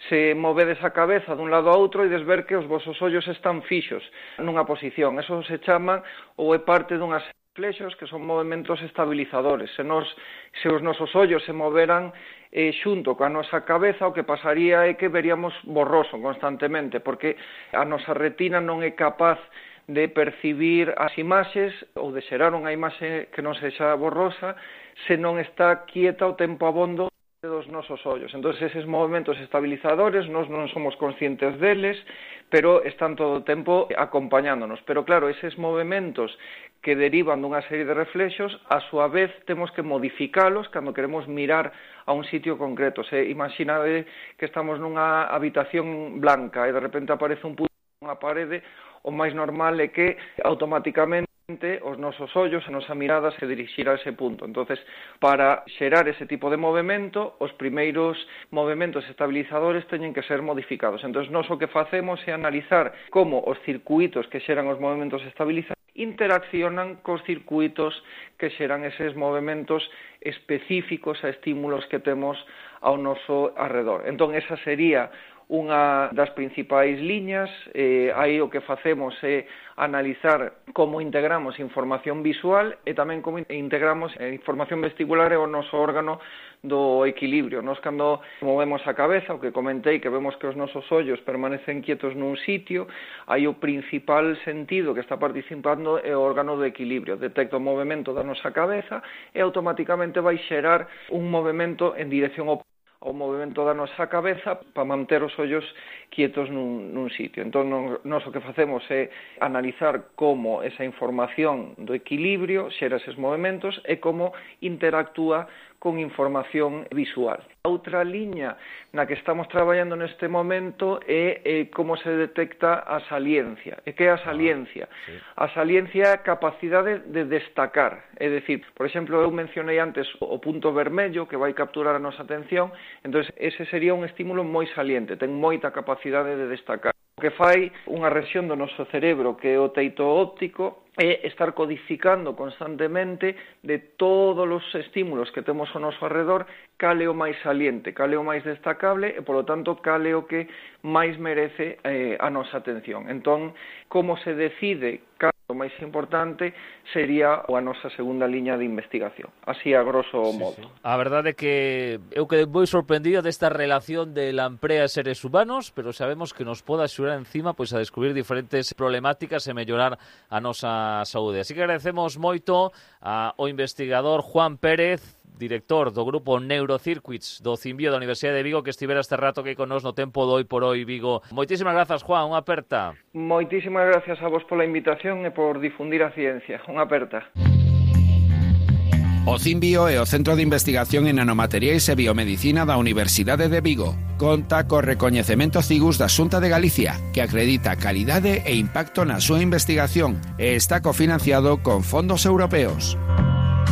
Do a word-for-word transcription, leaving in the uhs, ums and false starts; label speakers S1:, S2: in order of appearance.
S1: se movedes a cabeza dun lado a outro e des ver que os vosos ollos están fixos nunha posición. Eso se chama ou é parte dunhas flexos que son movimentos estabilizadores. Se, nos, se os nosos ollos se moveran eh, xunto coa nosa cabeza, o que pasaría é que veríamos borroso constantemente, porque a nosa retina non é capaz de percibir as imaxes ou de xerar unha imaxe que non sexa borrosa se non está quieta o tempo abondo dos nosos ollos. Entón, eses movimentos estabilizadores nós non somos conscientes deles, pero están todo o tempo acompañándonos. Pero claro, eses movimentos que derivan dunha serie de reflexos, a súa vez temos que modificalos cando queremos mirar a un sitio concreto. Se imaginade que estamos nunha habitación blanca e de repente aparece un punto nunha parede, o máis normal é que automáticamente os nosos ollos, a nosa mirada se dirixirá a ese punto. Entonces, para xerar ese tipo de movimento, os primeiros movimentos estabilizadores teñen que ser modificados. Entonces, nós o que facemos é analizar como os circuitos que xeran os movimentos estabilizadores interaccionan cos circuitos que xeran eses movimentos específicos a estímulos que temos ao noso arredor. Entón, esa sería unha das principais liñas. Eh, aí o que facemos é analizar como integramos información visual e tamén como integramos información vestibular e o noso órgano do equilibrio. Nos cando movemos a cabeza, o que comentei, que vemos que os nosos ollos permanecen quietos nun sitio, aí o principal sentido que está participando é o órgano do equilibrio. Detecta o movimento da nosa cabeza e automáticamente vai xerar un movimento en dirección oposta o movimento da nosa cabeza para manter os ollos quietos nun, nun sitio. Entón, nós o que facemos é analizar como esa información do equilibrio xera eses movimentos e como interactúa con información visual. A outra liña na que estamos traballando neste momento é, é como se detecta a saliencia. E que é a saliencia? Ah, sí. A saliencia é a capacidade de destacar. É dicir, por exemplo, eu mencionei antes o punto vermello que vai capturar a nosa atención, entón ese sería un estímulo moi saliente, ten moita capacidade de destacar. O que fai unha rexión do noso cerebro que é o teito óptico é estar codificando constantemente de todos os estímulos que temos ao noso arredor cal é o máis saliente, cal é o máis destacable e, polo tanto, cal é o que máis merece eh, a nosa atención. Entón, como se decide cal o máis importante sería a nosa segunda liña de investigación. Así a grosso modo.
S2: Sí, sí. A verdade é que eu quedei moi sorprendido desta relación de lamprea e seres humanos, pero sabemos que nos pode axudar encima pois a descubrir diferentes problemáticas e mellorar a nosa saúde. Así que agradecemos moito ao investigador Juan Pérez, director do grupo Neurocircuits do Cimbio da Universidade de Vigo, que estivera este rato aquí con nos no tempo do Hoy por Hoy Vigo. Moitísimas grazas, Juan, unha aperta.
S1: Moitísimas gracias a vos pola invitación e por difundir a ciencia. Unha aperta.
S3: O Cimbio é o Centro de Investigación en Nanomateriais e Biomedicina da Universidade de Vigo. Conta co recoñecemento Cigus da Xunta de Galicia, que acredita calidade e impacto na súa investigación e está cofinanciado con fondos europeos.